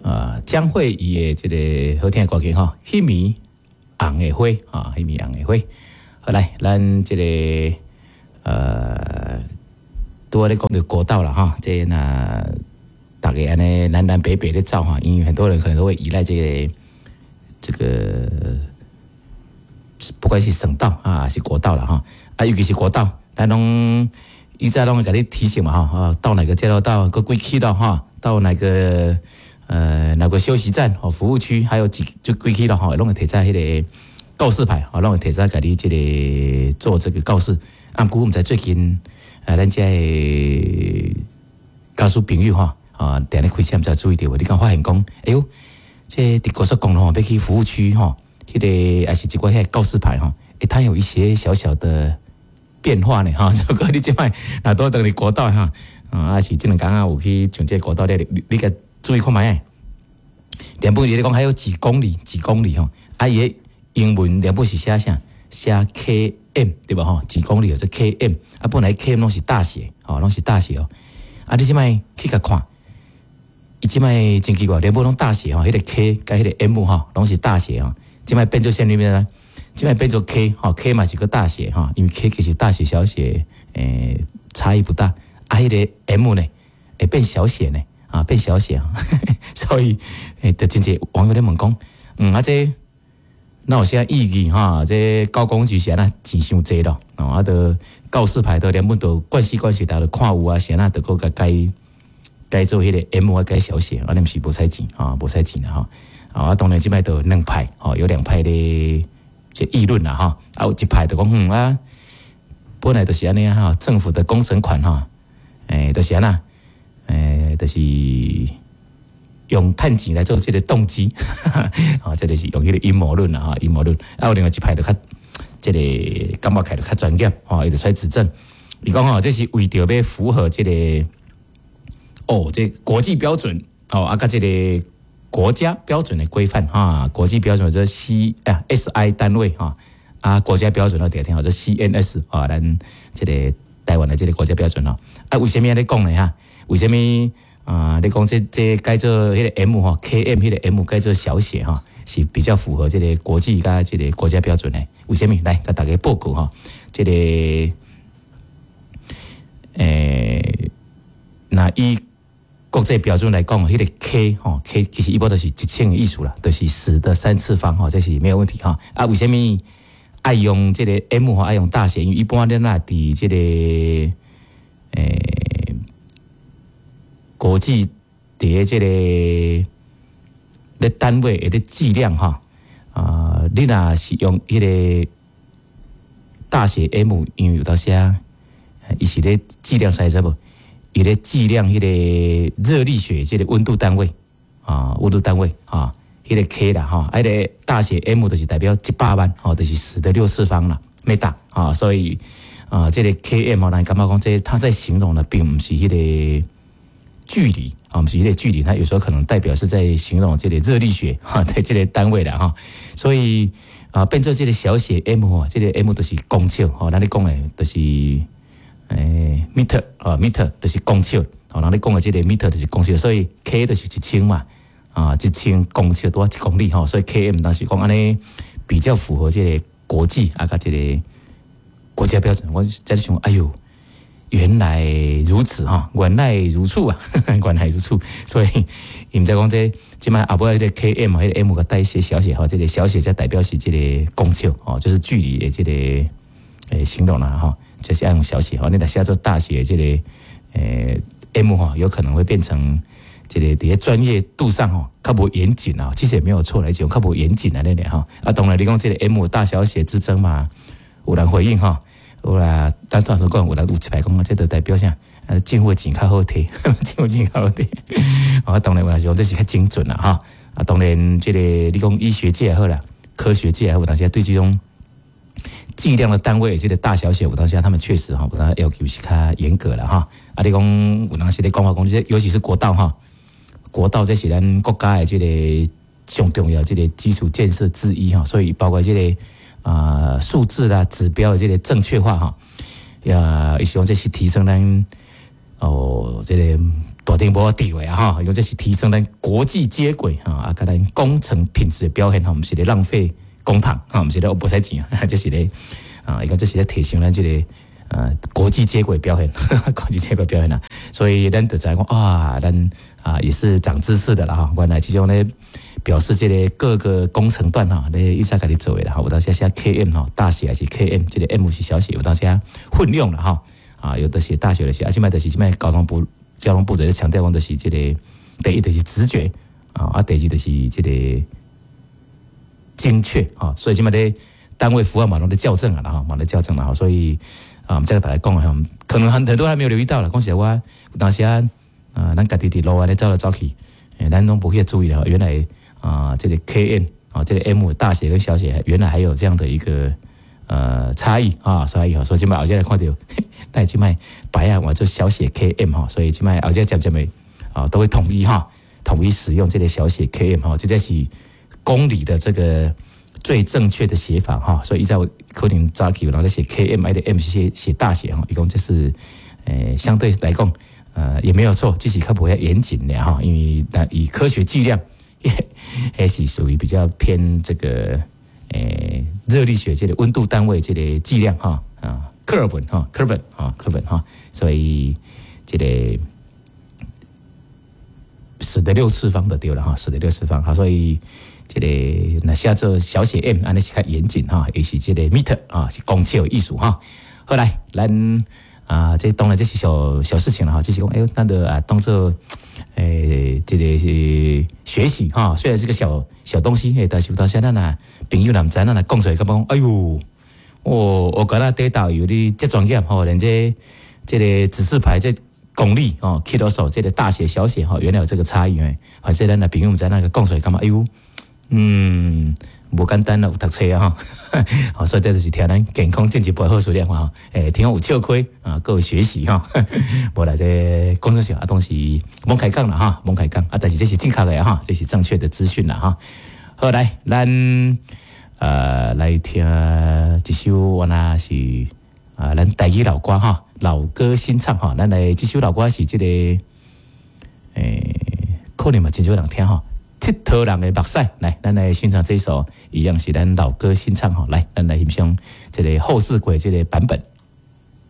啊江蕙伊的這个好聽的歌曲吼，彼暝紅的花啊，彼暝紅的花。好來，咱這个拄仔咧講著國道啦哈，這若逐家按呢南南北北咧走哈，因為很多人可能都會依賴這個，不管是省道啊，是國道啦哈，啊，尤其是國道，咱攏伊早攏會共你提醒嘛哈，啊，到哪個交流道，閣幾起咯哈，到哪個休息站哦，服務區，還有幾就幾起咯哈，攏會提早彼个告示牌，吼，攏會提早共你這个做這個告示。啊，毋過毋知最近啊，咱遮的駕駛朋友吼，啊，定咧開車毋知注意著無？你敢發現講，哎喲，這佇高速公路吼，欲去服務區吼，彼个抑是一寡彼个告示牌吼，欸，它有一些小小的變化呢哈。如果你這擺若拄佇國道哈，啊，抑是這兩工啊有去上這个國道咧，你共注意看覓？原本伊咧講還有幾公里，幾公里吼，啊，伊的英文原本是寫啥？寫 KM 對無吼？幾公里就 KM，啊，本來 KM 攏是大寫，吼，攏是大寫哦。啊，你這擺去共看，伊這擺真奇怪，原本攏大寫吼，彼个 K 佮彼个 M 吼，攏是大寫吼。這擺變做啥物呢？這擺變做 K 吼，K 嘛是閣大寫吼，因為 K 其實大寫小寫，差異不大。啊，彼个 M 呢，會變小寫呢，啊，變小寫，所以就真濟網友咧問講，啊這哪有啥意義哈？這交工局是按怎錢傷濟咯？哦，啊，著告示牌都連本都慣勢慣勢，逐家都看有啊，是按怎著閣共改改做彼个 M 啊，改小寫，按呢毋是無使錢啊，無使錢啦吼。啊，當然這擺就兩派，吼，有兩派咧這議論啦吼。啊，有一派就講，啊，本來就是按呢哈，政府的工程款哈，就是按怎，就是用趁錢來做這个動機，啊，這就是用彼个陰謀論啦，哈，陰謀論。啊，有另外一派就較這个感覺起來就較專業，吼，伊就出來指正，伊講吼，這是為著欲符合這个，哦，這國際標準，哦，啊，佮這个國家標準的規範，哈，國際標準這 C 啊 SI 單位，哈，啊，國家標準我聽聽號做 CNS，啊，咱這个台灣的這个國家標準吼，啊，為啥物按呢講呢？哈，為啥物？啊，你講這改做彼个 M 吼，KM 彼个 M 改做小寫吼，是比較符合這个國際佮這个國家標準的。為啥物？來，共大家報告吼，這个若以國際標準來講，彼个 K 吼 K 其實一般都是一千的意思啦，就是10的3次方吼，這是沒有問題吼。啊，為啥物愛用這个 M 吼，愛用大寫？因為一般咱若佇這个國際佇這个咧單位的咧計量哈，啊，你若是用彼个大寫 M，因為有當時啊，伊是咧計量啥知無？伊咧計量彼个熱力學這個溫度單位啊，溫度單位啊，彼个 K 啦吼，彼个大寫 M 就是代表一百萬吼，就是10的6次方啦，meter 啊，所以啊，這个 KM 咱感覺講這他在形容的並毋是彼个距離啊，毋是彼个距離，它有時候可能代表是在形容這个熱力學哈的這个單位啦哈，所以啊，變做這个小寫 M 吼，這个 M 就是公尺吼，咱咧講的就是meter 啊，meter 就是公尺，吼，咱咧講的這个 meter 就是公尺，所以 K 就是一千嘛，啊，1000公尺拄仔一公里吼，所以 KM 當時講按呢比較符合這个國際啊，佮這个國家標準。我在咧想，哎喲，原來如此哈，原來如此啊，原來如此。所以伊毋知講這這擺後尾彼个 KM 彼个 M 共代寫小寫吼，這个小寫才代表是這个公尺吼，就是距離的這个形容啦吼，就是愛用小寫吼。你若寫做大寫這个M 吼，有可能會變成這个佇咧專業度上吼較無嚴謹啊，其實也沒有錯來講，較無嚴謹啊，那咧吼。啊，當然你講這个 M 大小寫之爭嘛，有人回應吼。有啦，咱當時講有人有一派講，這就代表啥？啊，政府錢較好提，政府錢較好提。啊，當然有人是講這是較精準啦，哈。啊，當然這个你講醫學界也好啦，科學界也好，有當時對這種計量的單位，這个大小寫，有當時他們確實哈，有當要求是較嚴格啦，哈。啊，你講有當時咧講話講，這尤其是國道哈，國道這是咱國家的這个上重要這个基礎建設之一哈，所以包括這个啊，數字啦、指標的這个正確化哈，呀，伊希望這是提升咱哦，這个大頂帽佇落啊吼，伊講這是提升咱國際接軌哈，啊，佮咱工程品質的表現吼，毋是咧浪費公帑哈，毋是咧無使錢啊，這是咧啊，伊講這是咧提升咱這個國際接軌表現，國際接軌表現啦。所以咱就知講啊，咱啊也是長知識的啦哈。原來這種咧表示這個各個工程段哈，咧一直共你做的啦。有當時寫 KM 吼，大寫還是 KM，這個 M 是小寫，有當時混用了哈。啊，有的寫大寫的寫，啊，這擺就是這擺交通部在強調講，就是這個第一就是直覺啊，啊，第二就是這個精確啊，所以這擺咧單位符號嘛攏咧校正啊啦哈，嘛咧校正啦哈，所以啊，我們再跟大家講哈，可能很多還沒有留意到啦，講實話，有當時啊，啊，咱家己佇路按呢走來走去，咱攏無去注意啦，原來啊，這個 KM 啊，這個 M 大寫跟小寫，原來還有這樣的一個差異啊，差異哈，所以這擺後來看著，但這擺牌仔換做小寫 KM 哈，所以這擺後來漸漸的啊，都會統一哈，統一使用這個小寫 KM 哈，這才是公里的這個最正確的寫法哈，所以以前可能早期有人咧寫 KM，愛的 M 是寫大寫哈，伊講這是相對來講也沒有錯，只是較無遐嚴謹的哈，因為以科學計量，還是屬於比較偏這個熱力學這個溫度單位這個計量哈啊，克爾文哈，克爾文啊，克爾文哈，所以這個十的六次方就對了哈，十的六次方哈，所以這個若寫做小寫 m，按呢是較嚴謹哈，也是這個 meter 啊，是公尺的意思哈。好來，咱啊，這當然這是小小事情了哈，就是講哎，咱就啊當做這個是學習哈，雖然是個小小東西，但是有當時咱若朋友若毋知，咱若講出來，感覺講哎喲，哦，我感覺這導遊你這專業吼，連這個指示牌這公里哦，キロ數這個大寫小寫吼，原來有這個差異誒，反正咱若朋友毋知，那個講出來感覺哎喲，無簡單啦，有讀冊啊吼，所以這就是聽咱健康進一步好處了吼，聽講有笑虧啊，閣有學習吼，無啦，這講說笑啊，當時罔開講啦哈，罔開講啊，但是這是正確的哈，這是正確的資訊啦哈。好來，咱來聽一首，我那是啊，咱台語老歌哈，老歌新唱哈，咱來這首老歌是這個可能嘛真少人聽哈。鐵佗人的目屎，來，咱來欣賞這首，一樣是咱老歌新唱吼，來，咱來欣賞這個後世鬼這個版本。